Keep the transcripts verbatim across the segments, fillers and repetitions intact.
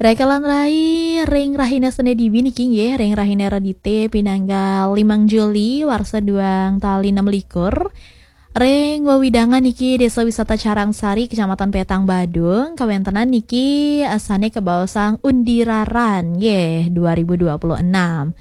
Rekelan rai, ring rahina Senin dibi niki nggih, ring rahina Redite pinanggal limang Juli warsa duang tali enam likur. Ring wewidangan niki Desa Wisata Carangsari, Kecamatan Petang Badung, kawentenan niki, eh, sane kabaosang Undira Run nggih dua ribu dua puluh enam.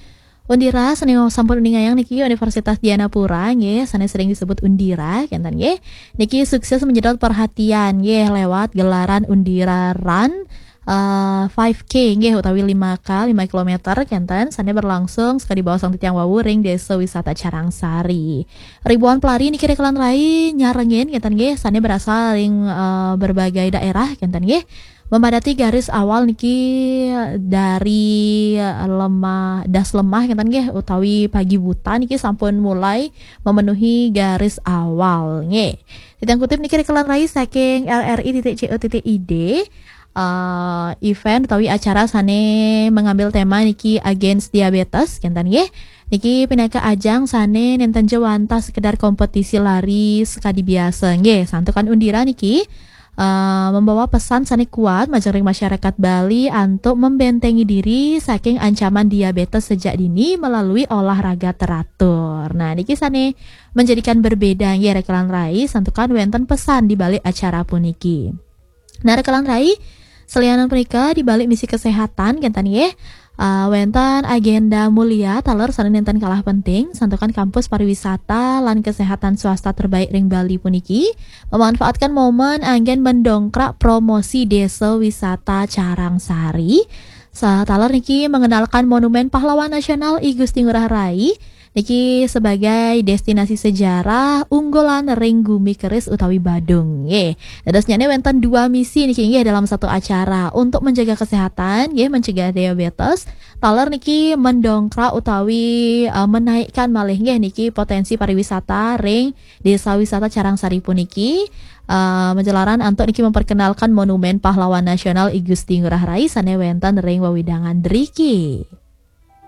Undira sane sampun uningayang niki Universitas Dianapura nggih, sane sering disebut Undira kenten nggih. Niki sukses menyedot perhatian nggih lewat gelaran Undira Run, eh, five K nggih, utawi lima K, lima kilometer kenten, sane berlangsung sekadi baosang titiang wau ring Desa Wisata Carangsari. Ribuan pelari niki rekelan rai nyarengin kenten nggih, sane berasal ring, eh, berbagai daerah kenten nggih. Memadati garis awal niki dari, eh, lemah, das lemah kenten nggih, utawi pagi buta niki sampun mulai memenuhi garis awal nggih. Titiang kutip niki rekelan rai saking R R I titik C O titik I D. Eh, event utawi acara sane mengambil tema niki Against Diabetes kenten nggih. Niki pinaka ajang sane nenten ja wantah sekedar kompetisi lari sekadi biasa nggih, santukan Undira niki, eh, membawa pesan sane kuat majeng ring masyarakat Bali antuk membentengi diri saking ancaman diabetes sejak dini melalui olahraga teratur. Nah, niki sane menjadikan berbeda nggih rekelan rai, santukan wenten pesan di balik acara puniki. Nah, rekelan rai, selianan punika di balik misi kesehatan kenten nggih, eh, wenten agenda mulia taler sane nenten kalah penting, santukan kampus pariwisata lan kesehatan swasta terbaik ring Bali puniki memanfaatkan momen anggen mendongkrak promosi Desa Wisata Carangsari. Sataler niki mengenalkan Monumen Pahlawan Nasional I Gusti Ngurah Rai niki sebagai destinasi sejarah unggulan ring gumi keris utawi Badung nggih. Dadosnyane wenten dua misi niki nggih dalam satu acara. Untuk menjaga kesehatan nggih, mencegah diabetes, taler niki mendongkrak utawi, eh, menaikkan malih nggih niki potensi pariwisata ring Desa Wisata Carangsari puniki, eh, menjelaran antuk niki memperkenalkan Monumen Pahlawan Nasional I Gusti Ngurah Rai sane wenten ring wewidangan driki.